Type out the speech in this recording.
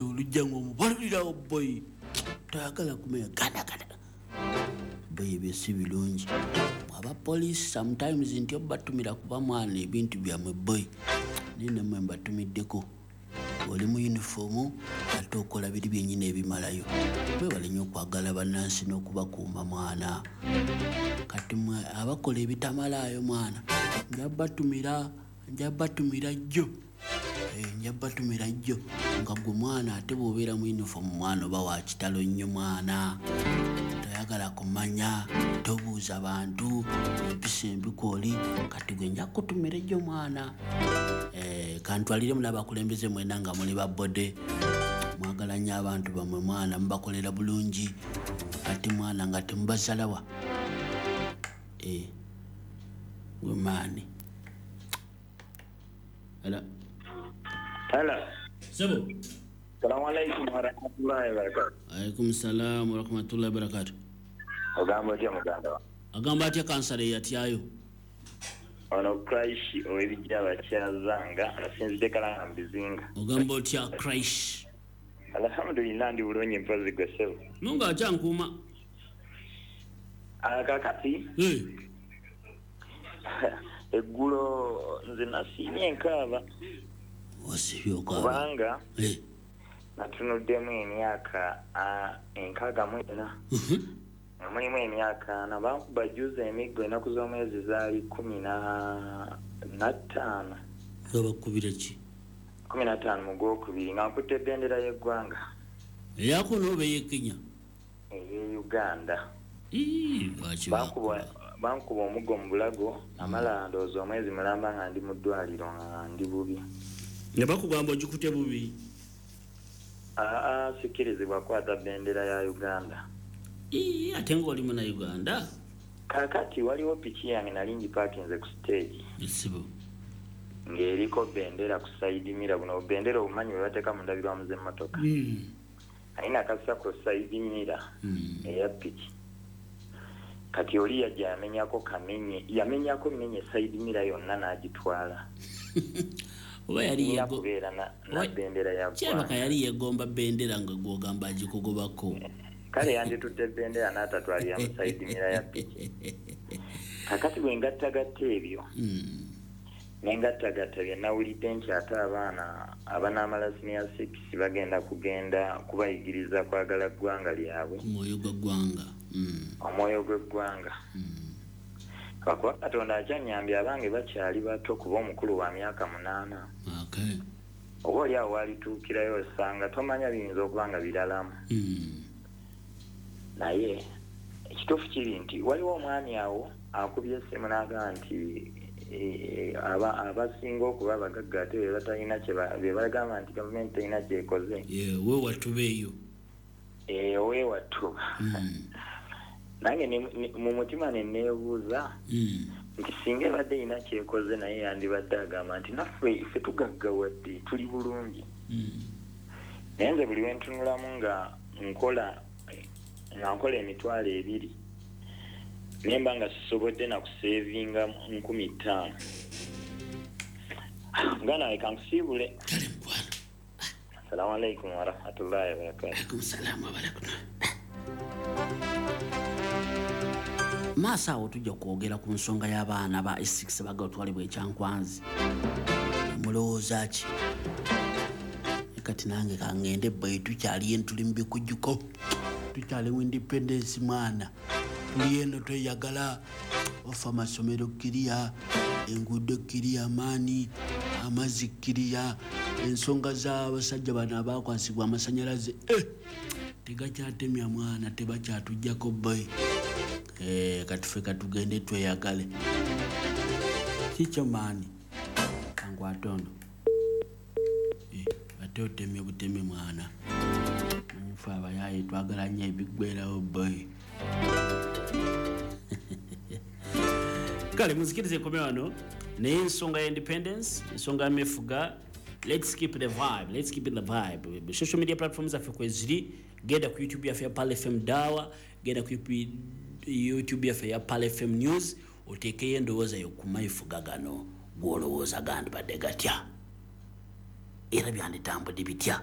Olujja ngaomubalulirawo boyi, toyagala kumenya gadagada boyi. Ebyo si birungi. Abapoliisi sometimes nti obatumira kuba mwana ebintu byammwe boyi, naye nammwe mbatumiddeko. Oli mu yunifoomu ate okola biri byennyini ebimalayo. Mwebale nnyo okwagala bannansi n'okubakuuma mwana. Kati mwe abakola ebitamalaayo mwana, nja batumira, nja batumira jjo. Nja batumira jjo nga gwe mwana. Ate bw'obeera mu yunifoomu mwana, oba wa kitalo nnyo mwana, toyagala kumanya, tobuuza bantu, empisa embi kwoli. Kati gwe nja kutumira ejjo mwana. Kantwaliremu n'abakulembeze mwena nga muli babode, mwagala nnyo abantu bammwe mwana, mubakolera bulungi ate mwana nga temubasalawa. Gwe maani ala. Hello. Sebo. Salamu alaikum warahmatullahi wabarakatuh. Alaikum salam warahmatullahi wabarakatuh. Ogamba otya muganda wa? Agamba atya kansala eyatyayo? Ono Christ ow'ebijja abakyazanga asinzidde Kalanga mu bizinga. Ogamba otya Christ? Alhamdulillah, ndi bulungi, mpozi gwe ssebo? Mungu akyankuuma. Kakati eggulo nze nasiimye enkaaba. Osibye okaaba? Kubanga natunuddemu emyaka 64 nga mulimu emyaka 40. Bankuba juzi emiggo, ennaku z'omwezi zaali 15. Nga bakubira ki? 15 mu gwokubiri, nga nkutte ebendera y'eggwanga. Eyakuno oba ey'e Kenya? Ey'e Uganda. Ii, lwaki? Bankuba Bakuba? Bankuba omuggo mu bulago, namala ndowooza omwezi mulamba nga ndi mu ddwaliro nga ndi bubi. Nga bakugamba ogikute bubi? Aa, sikkirizibwa kukwata bendera ya Uganda. Ii, ate ng'oli muna Uganda. Kaakati waliwo piki yange nali ngipaakinze ku stage Esibo. ng'eriko bendera ku side mirror. Buno bendera obumanyi bwe bateeka mu ndabirwamu z'emmotoka, naye nakassa ku side mirror eya piki. Kati oli yajja yamenyako kamenye, yamenyako menye side mirror yonna n'agitwala. Oba yali Nina kubeera na bendera ya kirabika ggwanga. Yali yegomba bendera nga gwogamba agikugobako. Kale yanditutte bendera n'atatwalira mu side mirror ya piki. Kakati bwe ngattagatta ebyo nengattagatta bye nawulidde nti ate abaana abanaamala senior six bagenda kugenda kubayigiriza kwagala ggwanga lyabwe. Omwoyo gwa ggwanga. Omwoyo gw'eggwanga. Lwakuba Katonda akyanyambye, abange bakyali bato, kuba omukulu wa myaka 8. Oba oli awo walituukirayo osanga tomanya, biyinza okuba nga biralamu. Naye ekituufu kiri nti waliwo omwami awo akubye essimu n'agamba nti abasinga okuba abagagga ate be batalina be bagamba nti gavumenti terina kyekoze. Ye, we watubeeyo. Oweewattu nange mu mutima ne neebuuza nti singa ebadde erina kyekoze, naye yandibadde agamba nti naffe ffe tugaggawadde, tuli bulungi. Naye nze buli lwentunulamu nga nkola 20,000, nemba nga sisobodde nakusevinga 5,000. Muganda wange, kankusiibule. Kale mukwano. Assalamu alaikum warahmatullahi wabarakatu. Alaikum salaamu wabarakatuh. Maaso awo tujja kwogera ku nsonga y'abaana ba S6 bagala otwalibwa ekyankwanzi. Mulowooza ki? Kati nange kangende boyi, tukyali eno, tuli mu bikujjuko, tukyali mu independence mwana, tuli eno tweyagala ofa. Amasomero kiriya, enguudo kiriya, maani amazzi kiriya, ensonga z'abasajja bano abakwasibwa amasanyalaze tegakyatemya mwana, tebakyatujjako boy. Kati ffe katugende tweyagale kikyo maani. Kankwate ono. Ate otemye butemi mwana. Nfe abayaye twagala nnyo ebiggwerawo boy. Kale muzikirize ekome wano, naye ensonga ya independence, ensonga ya mefuga, let's keep the vibe, let's keep it the vibe. Social media platforms zaffe kweziri. Genda ku YouTube yaffe ya Pal FM Dawa, genda ku YouTube yaffe ya Pal FM News, oteekeyo endowooza yo ku mayifuga gano. Gwolowooza gandibadde gatya era byanditambudde bitya?